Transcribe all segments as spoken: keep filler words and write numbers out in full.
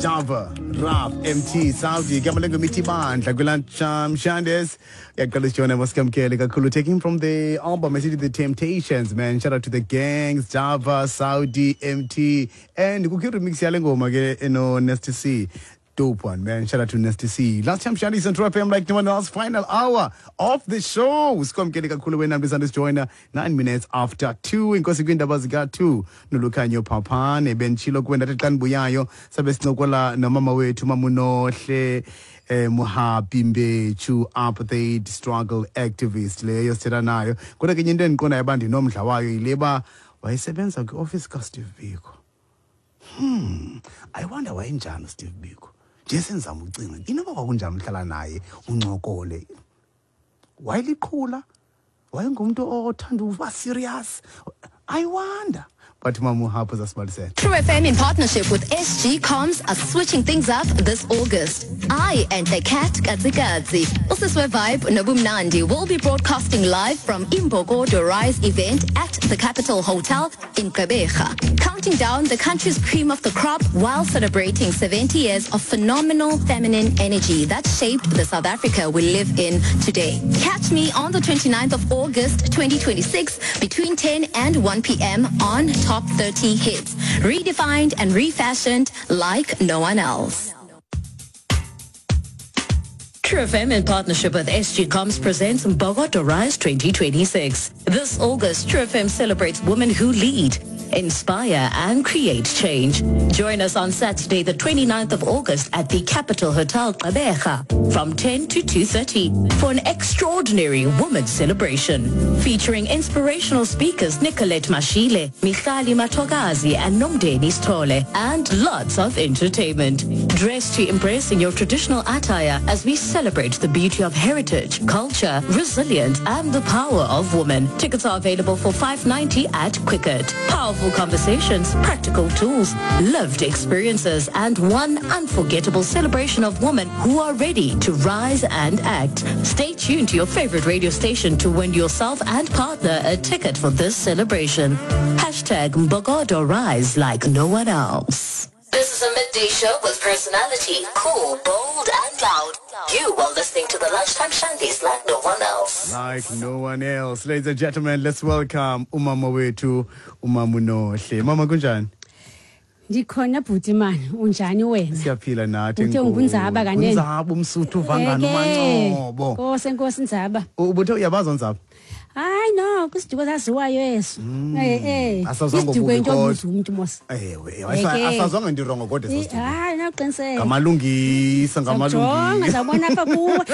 Java, Raf, M T, Saudi, igama lengoma ithi Bandla kwi-Lunchtime Shandies. Yaqala sijona masikamkele kakhulu, taking from the album esithi The Temptations, man. Shout out to the gangs, Java, Saudi, M T, and kukho remix yale ngoma ke eno Nasty C. Dope one, man. Shout out to Nasty C. Lunchtime Shandies on True F M like no one else. Final hour of the show. Sikwamkele kakhulu wena mntu joiner nine minutes after two. Inkosi kwindaba zika two. Nolukhanyo Phaphane benchilo kuwe ndathi xa ndibuyayo sabe sincokola nomama wethu, Mamunohle eh Muhapi Mbechu, apartheid struggle activist leyo sithetha nayo. Kodwa ke enye into endiqondayo uba ndinomdla wayo yile ba wayesebenza kwiofisi kaSteve Biko. Hmm, I wonder wayenjani uSteve Biko. Nje senzama ucinga inoba kwakunjani uhlala naye uncokole. Wayeliqhula, wayengumntu othanda uba serious. I wonder. But Mama Muhapu zasibalisela. True F M in partnership with S G Comms are switching things up this August. I and the cat Katzikatzi, Usiswe Vibe Nobumnandi, will be broadcasting live from Imbokodo Rise event at the Capital Hotel in Gqeberha, counting down the country's cream of the crop while celebrating seventy years of phenomenal feminine energy that shaped the South Africa we live in today. Catch me on the twenty-ninth of August twenty twenty-six between ten and one p m on Top thirty Hits. Redefined and refashioned like no one else. True F M in partnership with S G Comms presents Mbokodo Rise twenty twenty-six. This August, True F M celebrates women who lead, inspire and create change. Join us on Saturday, the 29th of August at the Capital Hotel Gqeberha from ten to two thirty for an extraordinary women's celebration featuring inspirational speakers Nicolette Mashile, Michali Matogazi and Nomdeni Stole, and lots of entertainment. Dress to impress in your traditional attire as we celebrate the beauty of heritage, culture, resilience and the power of women. Tickets are available for five ninety at Quicket. Powerful conversations, practical tools, lived experiences and one unforgettable celebration of women who are ready to rise and act. Stay tuned to your favorite radio station to win yourself and partner a ticket for this celebration. Hashtag Mbokodo Rise like no one else. This is a midday show with personality, cool, bold, and loud. You are listening to the Lunchtime Shandies like no one else. Like no one else. Ladies and gentlemen, let's welcome umama wethu, umama uNohle. Mama, kunjani? Ndikhona bhuti mani, unjani wena? Siyaphila nathi. Uthe unguNzaba kanene? Unzaba umsuthu uvangana uMancobo. Nkosi, enkosi Nzaba. Ubuthe uyabaza uNzaba? Hayi no, kwisiduko saziwayo eso. Eh eh. Asazwanga Isiduko ngobubi into kodwa. obuza umuntu mos. Ewe, Eke. asazwanga into wrong kodwa eso siduko. Hayi nawuqiniseka. Ngamalungisa, Jonga ngamalungisa. Zawubona apha kuwe.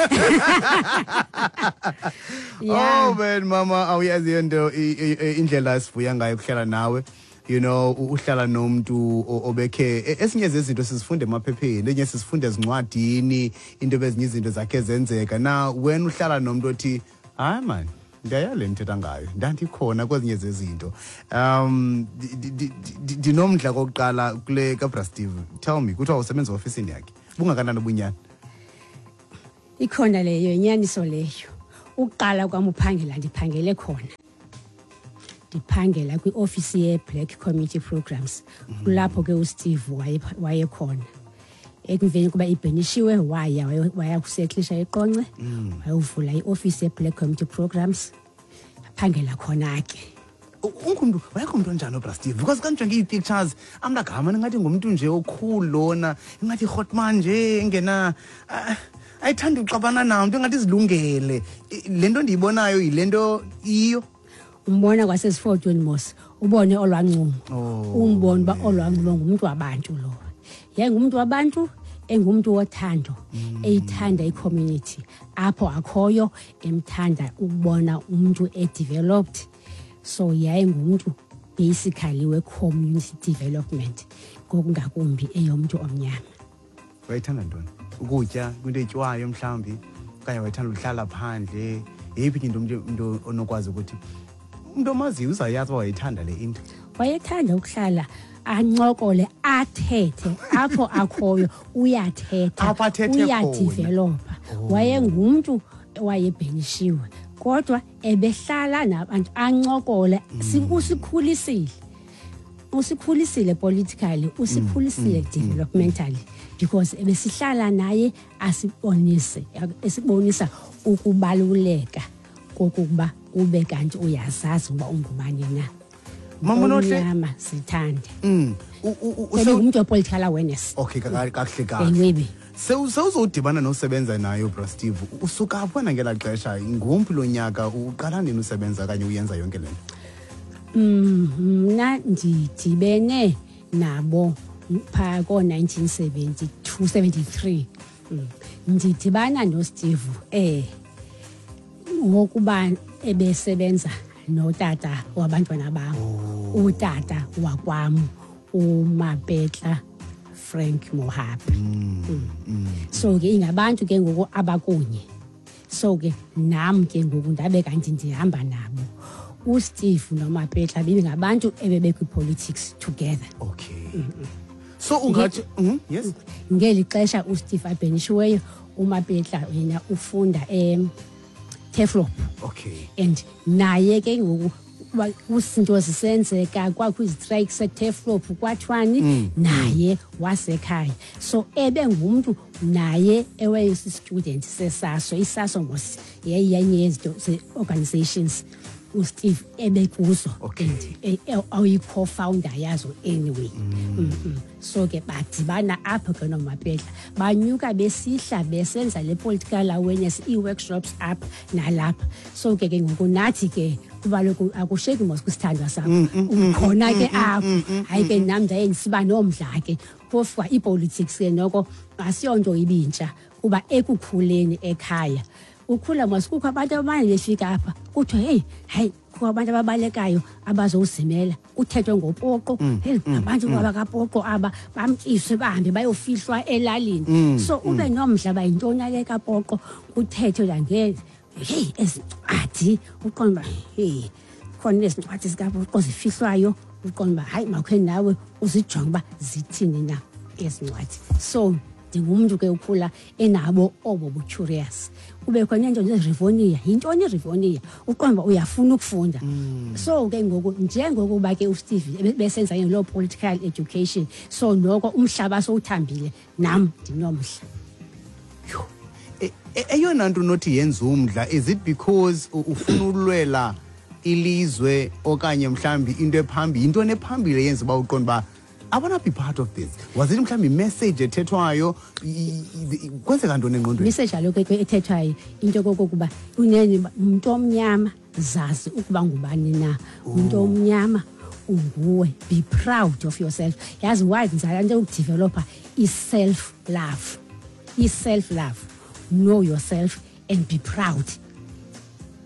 Oh man, mama, awuyazi into i- i- i- indlela esivuya ngayo ukuhlala nawe. You know, u- uhlala nomuntu o- obekhe e- esinye zezinto sizifunda emaphepheni, enye sizifunda ezincwadini, into bezinye izinto zakhe zenzeka. Na wena uhlala nomuntu othi, "Hayi man, ndiyayale ndithetha ngayo. Ndandikhona kwezinye zezinto." Um di- di- di- di- ndinomdla kokuqala kule kaBra Steve. Tell me, kuthiwa usebenza ofisini yakhe. Bungakanani ubunyani? Ikhona leyo inyaniso leyo. Uqala kwami uphangela ndiphangele khona. Ndiphangela kwiofisi ye-Black Community Programs. Kulapho ke uSteve waye- wayekhona. Emveni kuba ibhenishiwe waya waya- waya kusetlisha eQonce, wayovula iofisi ye-Black Community Programs. Aphangela khona ke. Ungumntu wayengumntu onjani uBra Steve? Because xa ndijonge ii-pictures, I'm like, "Hamani, ingathi ngumntu nje okhulu lona, ingathi ihotman nje engena ah, ayithandi uxabana namntu, ingathi izilungele." I- le nto ndiyibonayo yile nto iyo? Umbona kwasezifotweni mos, ubone olwancumo. Oh, umbone uba olwancumo ngumntu wabantu lo. Yayingumntu wabantu, engumntu wothando, eyithanda i-community apho akhoyo, emthanda ukubona umntu e-developed. So yayingumntu basically we-community development, ngokungakumbi eyomntu omnyama. Wayethanda ntoni? Ukutya, kwinto etyiwayo mhlawumbi, okanye wayethanda uhlala phandle? Yeyiphi into umntu umntu onokwazi ukuthi umntu omaziyo uzayazi uba wayethanda le into? Wayethanda ukuhlala ancokole, athethe. Apho akhoyo uyathetha. Apho athethe khona. Uyadevelopa. Wayengumntu owayebhenishiwe kodwa ebehlala nabantu ancokole. Si- usikhulisile Usikhulisile politically, usikhulisile developmentally, because ebesihlala naye asibonise, esibonisa ukubaluleka kokuba ube kanti uyazazi uba ungubani na. Mama Nohle. Omnyama, sithande. Mm. U- u- u- use- Ebengumntu we-political awareness. Okay, ka- kakuhle kahle. Enwebi. Sewu- Sewuzodibana nosebenza nayo, bra Steve. Usuka phi wena ngelaa xesha? Ngumphi lo nyaka uqala nini usebenza okanye uyenza yonke le nto? Mm, mna ndidibene nabo phaa koo-nineteen seventy-two seventy-three. Mm. Ndidibana noSteve eh ngokuba ebesebenza notata wabantwana bam, utata wakwam, uMapetla Frank Mohapi. Mm. So ke ingabantu ke ngoku abakunye, so ke nam ke ngoku ndabe kanti ndihamba nabo. USteve noMapetla bebingabantu ebebekwi-politics together. Okay. So ungathi Mhm, yes. Ngeli xesha uSteve abhenishiweyo, uMapetla yena ufunda eTurfloop. Okay. And naye ke ngoku wa- kuzinto zisenzeka, kwakho izitrayiki seTurfloop, kwathiwani, naye wasekhaya. So ebengumntu naye ewayesi-student seSASO. ISASO mos yayiyenye yezinto ze-organizations uSteve ebekuzo Okay. and eh, eh, ayi-co-founder yazo anyway. mm -mm. so ke badibana apho ke noMapetla, banyuka besihla besenza le political awareness, ii-workshops apha nalapha. So ke ke ngoku nathi ke, kuba loku akusheki mos kwisithandwa sakho, ukhona ke apho. Hayi ke, nam ndaye ndisiba nomdla ke, phofu kwa ipolitics ke noko asiyonto ibintsha, kuba ekukhuleni ekhaya ukhula mos kukho abantu abanye befika apha, kuthiwe, "Heyi, hayi, kukho abantu ababalekayo abazowuzimela," kuthethwe ngoPoqo. "Heyi, abantu abakaPoqo aba bamtyiswe, bahambe bayofihlwa elalini." So ube nomdla uba yintoni ale kaPoqo, kuthethwe nange, heyi, ezi ncwadi, uqonda uba, heyi, khona ezi ncwadi zikaPoqo zifihlwayo, uqonda uba hayi, makhe nawe uzijonge uba zithini na ezi ncwadi. So ndingumntu ke ukhula enabo obo bu-curious, kube khona into nje, yintoni iRivonia, uqonda uba uyafuna ukufunda. So ke ngoku njengokuba ke uSteve ebe- besenza loo political education, so noko umhlaba sowuthambile, nam ndinomdla. Yho. E- e- eyona nto unothi yenza umdla, is it because u- ufuna ulwela ilizwe okanye mhlawumbi into ephambili, yintoni ephambili eyenza uba uqonda uba I wanna be part of this? Was it mhlawumbi imessage ethethwayo? I- i- i- kwenzeka ntoni engqondweni? Message kaloku ke ethethwayo, into kokokuba unene umntu omnyama, zazi ukuba ngubani na umntu omnyama unguwe, be proud of yourself. Yazi why ndizala nto yokudevelopha i-self love, i-self love, know yourself and be proud,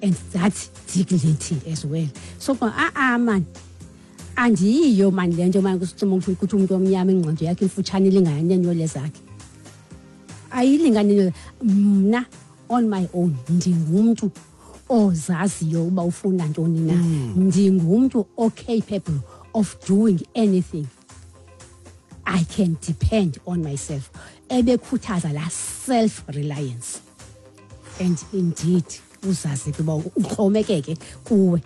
and that dignity as well. So a-a man, andiyiyo mani le nto mani kuthi umntu omnyama ingqondo yakhe imfutshane, ilingana neenywele zakhe, ayilingani. Mna on my own ndingumntu ozaziyo uba ufuna ntoni na, ndingumntu o-capable of doing anything, I can depend on myself. Ebekhuthaza la self reliance and indeed uzazi ke uba uxhomekeke kuwe.